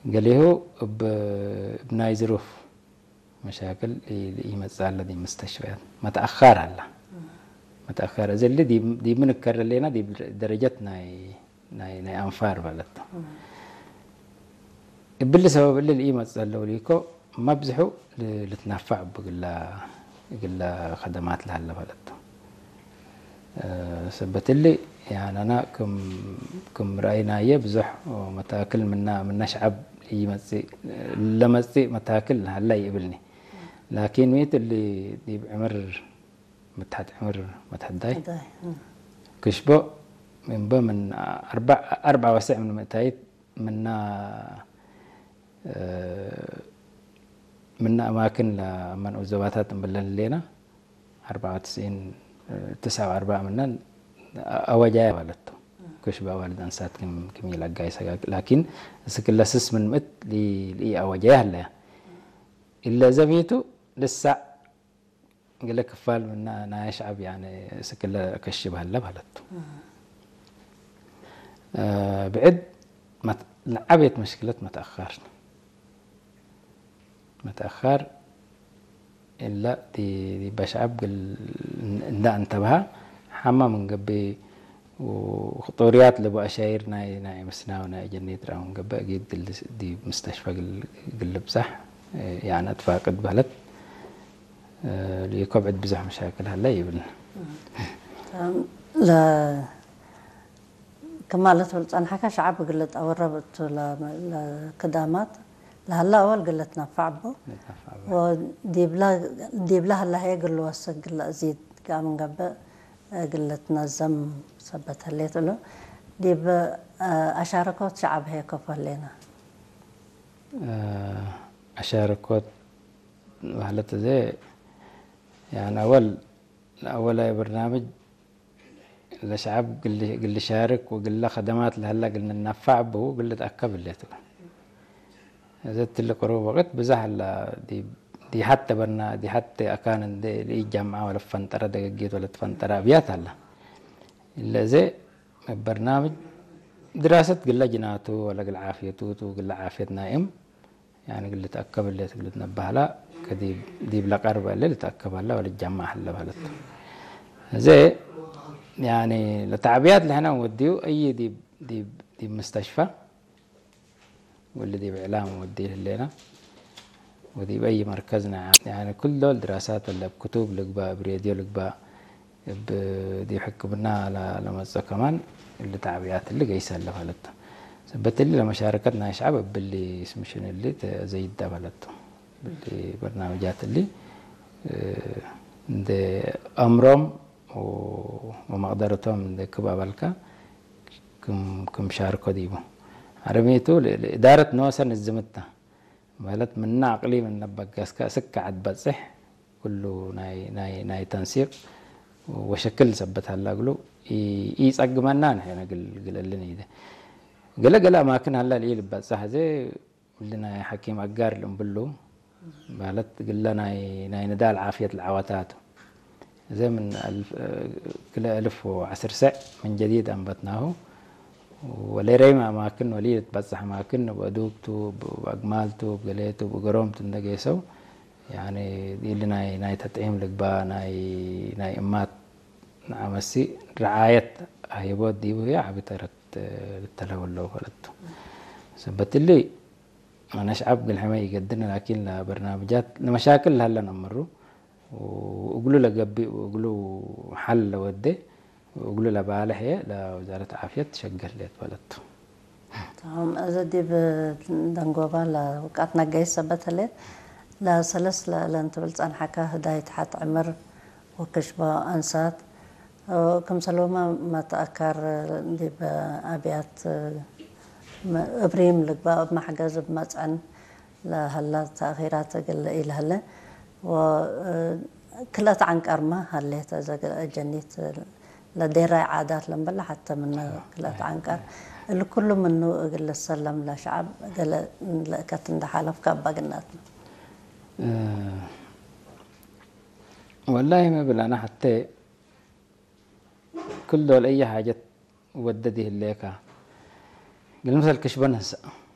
ገሊሁ ብ-፣ ብናይ ዝሩፍ መሻክል ይ-፣ ይመጽእ ኣሎ ዲ ምስተሽፈያት። መተኣኻር ኣላ። መተኣኻር እዚ ሊ ዲ-፣ ዲ ምንከር ለሌና ዲ ደረጀት ናይ፣ ናይ፣ ናይ ኣንፋር ማለት ነው። እብሊ ሰበብ እሊ ይመጽእ ኣለዉ ሊኮ መብዝሑ ል-፣ ልትናፋዕ ብግላ፣ ግላ ከደማት ለሃለ ማለት ነው። እ፣ ሰበት እሊ ያናና ክም፣ ክም ረኣይናየ ብዙሕ መታክል ምና፣ ምና ሸዓብ ይመጽእ፣ ለመጽእ መታክል ሃላ ይእብልኒ። ላኪን ሚት እሊ ዲብ ዕምር መትሓት ዕምር መትሓዳይ ዳይ፣ እ። ክሽቦ እምበ ምን ኣርባ፣ ኣርባ ወስዕ ምን ምእታይት ምና፣ እ፣ ምና ኣማክን ለመን ዞባታት እምብለን ሌና ኣርባ ወትስዒን፣ እ፣ ትስዓ ወኣርባ ምናን ኣወጃያ ማለት ነው። ክሽቦ ኣዋልድ ኣንሳት ክም፣ ክም ይለጋይ ሰጋግ። ላኪን እስክለስስ ምን ምእት ሊ-፣ ሊ ኣወጃያ ኣለያ። ኢለ ዘሚቱ ልሳዕ ገለ ክፋል ምና ናይ ሸዓብ ያነ እስክለ ከሽብ ሃለ ማለት ነው። እ፣ ብዕድ መት-፣ ለዓቤት መሽክለት መተኣኻር። መተኣኻር ኢላ ዲ፣ ዲ በሸዓብ ግል እንዳ እንተብሃ ሓማ ምን ገቢ ወ-፣ ኽጦርያት ለቡ ኣሻይር ናይ፣ ናይ ምስናው ናይ ጀኔት ራውን ገበ ጊድ ድል-፣ ዲ ምስተሽፈ ግል-፣ ግልብጻሕ፣ እ፣ ያነ ትፋቅድ በህለት፣ እ፣ ሊኮ ብዕድ ብዙሕ መሻክል ሃለ ይብልና። ለ-፣ ከማለት ብልጻን ሓካ ሸዓብ ግለ ጠወረብ እቱ ለ-፣ ለክዳማት ለሃላ ኣወል ግለ ትናፋዕ ኣቦ። ለትናፋዕ ኣቦ። ወዲብላ፣ ዲብላ ሃላ ሄ ግል ወሰግ ግለ እዚድ ጋም ገብእ ግለ ትነዘም ሰበት ህሌት እሉ። ዲብ፣ እ፣ ኣሻረኮት ሸዓብ ሄ ኮፍ ህሌና። እ፣ ኣሻረኮት ማለት እዚ ያን ኣወል፣ ኣወላይ በርናምጅ ለሸዓብ ግል፣ ግል ሻርክ ወግለ ከደማት ለሀላ ግል ንናፋዕ ብሁ ግል ተኣከብ ህሌት እሉ። እዚ ትልቅ ሩብ ወቅት ብዛሕ ላ ዲ፣ ዲ ሐተ በና፣ ዲ ሐተ አካን እንደ ልኢጃምዓ ወለ ፈንጠረ ደገጌት ወለ ትፈንጠረ አብያት አላ። ኢለ እዚ በርናምጅ ድራሰት ግለ ጅናቱ ወለ ግል ዓፍየቱ ቱ ግለ ዓፍየት ናይም ያኒ ግል ተአከብ እለ ትብል ነባህላ ከዲብ ዲብ ለቀርበ እለ ልተአከብ አላ ወለ ጃማ አለ ማለት። እዚ ያኒ ለተዕብያት ለህና ወዲዩ እይ ዲብ፣ ዲብ፣ ዲብ ምስተሽፋ ወለ ዲብ ኢዕላም ወዲ ህሌና ወዲብ አይ መርከዝና ያኒ ኩል ዶል ድራሳት ለብ ክቱብ ልግባእ፣ እብ ሬድዮ ልግባእ፣ እብ ዲብ ሕክምና ለ-፣ ለመጽኦ ከማን እሊ ተዕብያት እሊ ገይሰ አለ ማለት። ሰበት እሊ ለመሻረከት ናይ ሸዓብ እብሊ ስምሽን እሊ ተዘይዳ ማለት። እብሊ በርናምጃት እሊ፣ እ፣ እንደ አምሮም ወ-፣ ወመቅደረቶም እንደ ክብ አበልካ ክም፣ ክም ሻርኮ ዲቡ። አረሜቱ ለ-፣ ለእዳረት ነወሰ ንዝምታ። ማለት ምና አቅሊም እነ በገስከ እስከ ዐድ በጽሕ ኩሉ ናይ፣ ናይ፣ ናይ ተንሲቅ ወሸክል ሰበት ሀላ እግሉ ኢ-፣ ኢጸግመና ንሕነ ግል-፣ ግለልን ኢደ። ገለ ገለ አማክን ሀላ ልኢልበጽሕ ዘ እሊ ናይ ሐኪም አጋር ልእምብሉ ማለት ግለ ናይ፣ ናይ ንዳል ዓፍየት ለዐወታቱ። እዘ ምን አልፍ፣ ክለ አልፍ ወዐስር ሰዕ ምን ጀዲድ አንበትናሁ። ወሌረይም አማክን ወሊ ልትበጽሕ አማክን እብ አዱግቱ፣ እብ አግማልቱ፣ እብ ገሌቱ፣ እብ እገሮምቱ እንደ ጌሰው፣ ያኒ ኢሊ ናይ፣ ናይ ተጥዒም ልግባ፣ ናይ፣ ናይ እማት ንዓመሲ ረዓየት ሀይቦት ዲቡ ህየ ዓቢ ተረት ልተለወለው ፈለቱ። ሰበት እሊ አነ ሸዓብ ግል ሕመ ይገድን ላኪን ለበርናምጃት ለመሻክል ለሀለ ነምሩ ወእግሉ ለገቢእ ወእግሉ ሐል ለወዴ ወእግሉ ለባልሕ እየ ለወዛረት ዓፍየት ሸገር ሌት በለቱ። ተማም። እዚ ዲብ ደንጎባ ለውቃት ነገይስ ሰበት ህሌት ለሰለስ ለእለን ትብል ጸንሐካ ህዳይ ተሓት ዕምር ወክሽቦ አንሳት ክምሰልሁመ መትአካር ዲብ አብያት እብሪም ልግባእ እብ መሕገዝ እብ መጽዕን ለሀላ ተእኺራት እግል ኢለሀለ ወክልአት ዐንቀርመ ሀሌት እዘ ጀኒት ለዴራይ ዓዳት ለምበለ ሐተ ምነ ክልአት ዐንቀር እሊ ኩሉ ምኑ እግል ልሰለም ለሸዓብ ገለ ለእከት እንደ ሐለፍከ አባ ግናትነ። ወላሂ መብል አነ ሐቴ ክል ዶል አየ ሓጀት ወደድ ይህሌካ። ግል ምሰል ክሽበ ነህሰእ።